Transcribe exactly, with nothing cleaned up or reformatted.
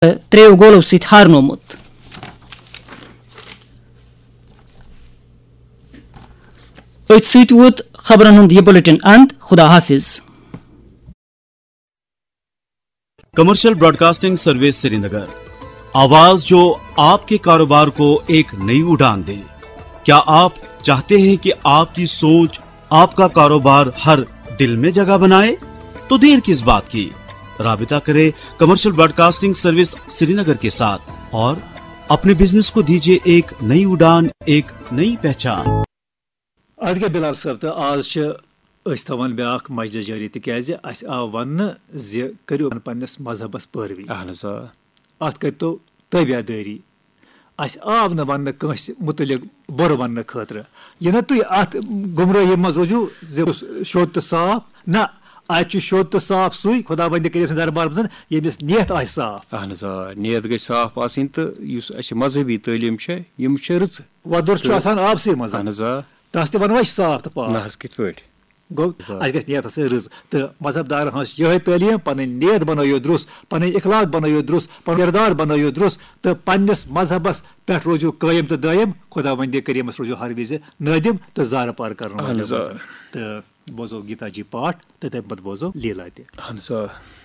ترٛیٚیو گولو سۭتۍ ہارنومُت۔ أتھۍ سۭتۍ ووت خبرن ہُنٛد یہِ بلیٹن اند۔ خدا حافظ۔ کمرشل براڈکاسٹنگ سروس سرینگر، آواز جو آپ کے کاروبار کو ایک نئی اڑان دے۔ کیا آپ چاہتے ہیں کہ آپ کی سوچ آپ کا کاروبار ہر دل میں جگہ بنائے؟ تو دیر کس بات کی، رابطہ کرے کمرشل براڈکاسٹنگ سروس سرینگر کے ساتھ اور اپنے بزنس کو دیجیے ایک نئی اڑان، ایک نئی پہچان۔ ادٕ کیٛاہ بلال صٲب، تہٕ آز چھِ أسۍ تھاوان بیٛاکھ مجلس جٲری، تِکیٛازِ اَسہِ آو وننہٕ زِ کٔرِو پننِس مذہبس پٲروی۔ اہن حظ آ۔ اَتھ کٔرۍتو تٲبیادٲری۔ اَسہِ آو نہٕ وننہٕ کٲنٛسہِ مُتعلق بُرٕ وننہٕ خٲطرٕ۔ یہِ نہٕ تُہۍ اَتھ گمرٲہی منٛز روٗزِو زِ شوٚد تہٕ صاف، نہ، اَتہِ چھُ شوٚد تہٕ صاف سُے خۄداوندِ کریٖم سٕنٛدِ دربار منٛز، ییٚمِس نیت آسہِ صاف۔ اہن حظ آ، نیت گژھِ صاف آسٕنۍ، تہٕ یُس اَسہِ مذہبی تعلیٖم چھےٚ، یِم چھِ رٕژٕ۔ وۄدُر چھُ آسان آبسٕے منٛز۔ اہن حظ آ۔ تَس تہِ وَنو أسۍ صاف تہٕ پاک۔ نہ حظ، کِتھ پٲٹھۍ؟ گوٚو، آ۔ اَسہِ گژھِ نیتَس سۭتۍ رٕژ۔ تہٕ مذہب دارَن ہٕنٛز یِہوٚے تعلیٖم، پَنٕنۍ نیت بَنٲیِو درُست، پَنٕنۍ اخلاق بَنٲیِو درُست، پَنُن کِردار بَنٲیِو درُست، تہٕ پنٛنِس مذہبَس پٮ۪ٹھ روٗزِو قٲیِم تہٕ دٲیِم۔ خۄداوندِ کریٖمَس روٗزِو ہر وِزِ نٲدِم تہٕ زارٕ پار کَرَن اہن حظ آ۔ وٲلۍ۔ تہٕ بوزو گیٖتا جی پاٹھ تہٕ تَمہِ پَتہٕ بوزو لیٖلا تہِ۔ اہن حظ آ۔